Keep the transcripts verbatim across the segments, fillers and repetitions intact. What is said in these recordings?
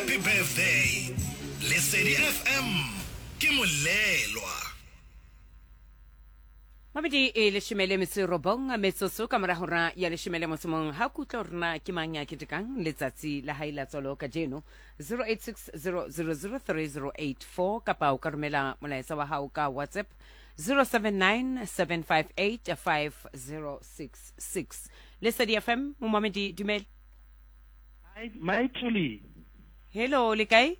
Happy birthday. Lesedi F M ke molelwa. Mabedi e leshome le metso e robong metsotso ka mora hora ya leshome le motso mong. Ha kutlwa hore na ke mang ya ketekang letsatsi la hae la tswalo kajeno, zero eight six zero zero zero three zero eight four, kapa o ka romela molaetsa wa hao ka WhatsApp zero seven nine seven five eight five zero six six. Lesedi F M, momamedi, dumela. Hi, Maithuli. Hello, le kae?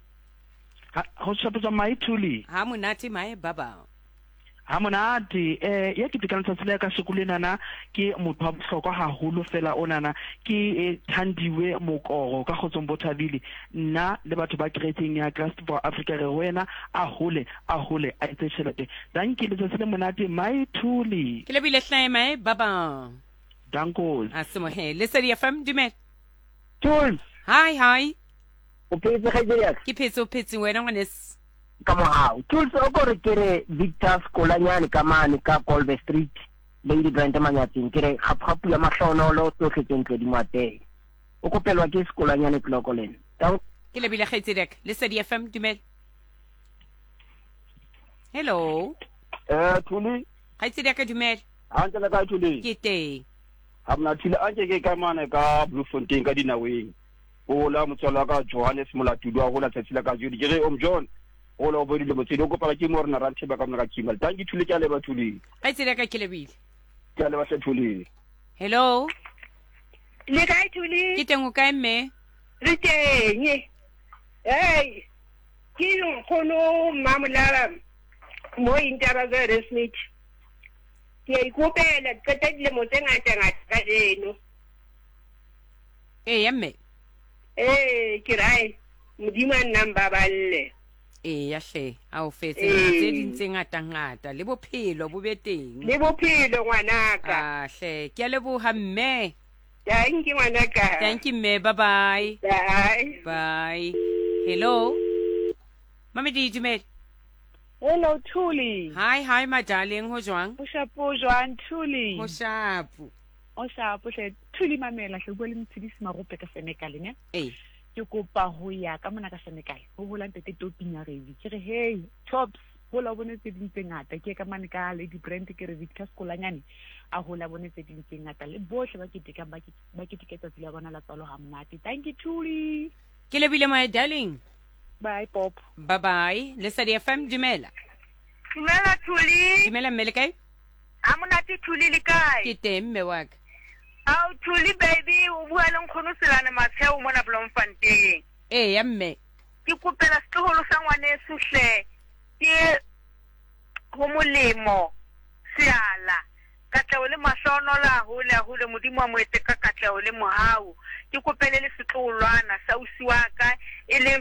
Ho shapetswa, Maithuli. Ha monate mae baba. Ha monate. eh ya ketekang letsatsi la ka sekolo lenana ke motho wa bohlokwa haholo fela onana ke eh, Thandiwe Mokoro ka Kgotsong bo thabile. Nna le batho ba kerekeng ya Christ for Africa re ho wena, a hole, a hole, a etse tjhelete. Dankie, letsatsi le monate, Maithuli. Ke lebile hlae mae baba. Dankos. A semohe. Lesedi F M, dumela. Tools. Hi, hi. O phetse, kgaitsedi ya ka? Ke phetse, o phetse wena, ngwanes? Ka mohau, Tools. O kore ke re Victor Skolanyane ka mane ka Colbe Street, Lady Brand Manyatseng, ke re kgapukgapu ya mahlonolo, tsohle tse ntle di moatele. O kopelwa ke Skolanyane Tloko le nna. Ke lebile kgaitsedi ya ka. Lesedi F M, dumela. Hello. Eh Thuli. Kgaitsedi ya ka, dumela. Hantle, le kae, Thuli? Ke teng. Ha mna Thuli, a nke ke ka mane ka Bloemfontein ka dinaweng. O la motswalo wa ka Johannes Molatudi wa hola tsatsi la kajeno. Ke re om John, hola o bodile motswedi o kopana ke mo rena Rantheba ka mona ka Kimal. Thank you, Thuli, ke a leba, Thuli. Kgaitsedi ya ka, ke lebile. Ke a leba hle, Thuli. Hello. Le kae, Thuli? Ke teng, o kae, mme? Re teng. Hey, ke nkgono Mmamolaba mo Intaba ka Smith. Ke a ikopela, ke qeta dilemo tse ngata ngata kajeno. Eya, mme. Ee, ke rae Modimo a nnang baballe. Eya hle, a o fetse Ee. tse ding tse ngata-ngata le bophelo bo be teng. Le bophelo, ngwanaka. Ah hle, ke a leboha, mme. Thank you, ngwanaka. Thank you, mme. Bye bye. Bye. Bye. Hello, mamedi, dumela. Hello, Thuli. Hi, hi, my darling, ho jwang? O shapo jwang, Thuli? Ho shapo. O shapo hle. Thuli, mamela hle, bua le Motshedisi Marope ka Senekal ne. Ee. Ke kopa ho ya ka mona ka Senekal. Ho hola ntate Topinyaredi. Ke re hey, Tops, hola o bone tse ding tse ngata. Ke ka mane ka Lady Brand, ke re Victor Skolanyane a hola bone tse ding tse ngata le bohle ba ketekang, ba ke- ba keteke tsatsi la bona la tswalo ha monate. Thank you, Thuli. Ke lebile, my darling. Bye, Pop. Bye bye. Lesedi F M, dumela. Dumela, Thuli. Dumela, mme, le kae? Ha monate, Thuli, le kae? Ke teng, mme wa ka. Ao Thuli baby, o bua le nkgono Selane Matsheo mona Bloemfontein. Eya, mme. Ke kopela setloholo sa ngwaneso hle, ke ho molemo Seala, katleho le mahlonolo, a hole, a hole, Modimo a mo etse ka katleho le mohau. Ke kopele le setloholwana sa ausi wa ka e leng